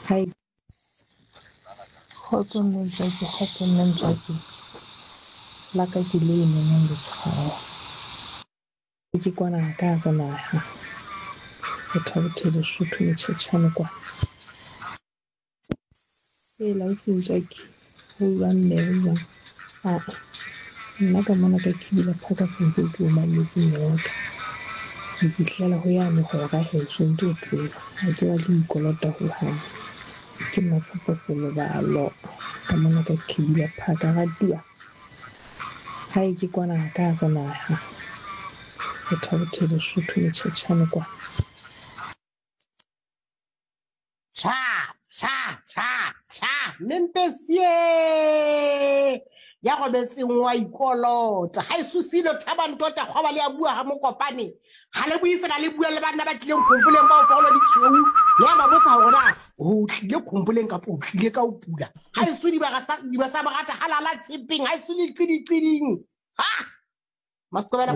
Hai. Kgotso mme Ntswaki, kgotso mme Ntswaki. La ka ke le nonong letshwao. Ke kwana ka hare naha. Botha-Bothe Lesotho Motjhetjhane kwana. Hela ausi Ntswaki, ho jwang mme ho jwang? Aa nna ka mona ka Kibila Park ha santse ke o mametse mme wa ka. Ho fihlela ho yane hora heso ntso o tseba. Ha ke batle ho ikolota hohang. Ke Matshepo Selobalo ka mona ka Kibila Park. Ratuwa, hae ke kwana ka hare naha. Botha-Bothe Lesotho Motjhetjhane kwana. Tjha, tjha, tjha, tjha, Mempesie ya robetseng wa ikolota. Ha e susilo thaba ntota kgwaba le a bua ha mokopane. Ha le bue fela le bua le banna ba tlileng khompoleng ba o fagolo di tshweu. Le a ba botsa hore na o tlile khompoleng kapa o tlile ka o pula. Ha e su diba sa diba sa borata halala tshepeng ha e su le qidi qiding. Ha! Masitobela.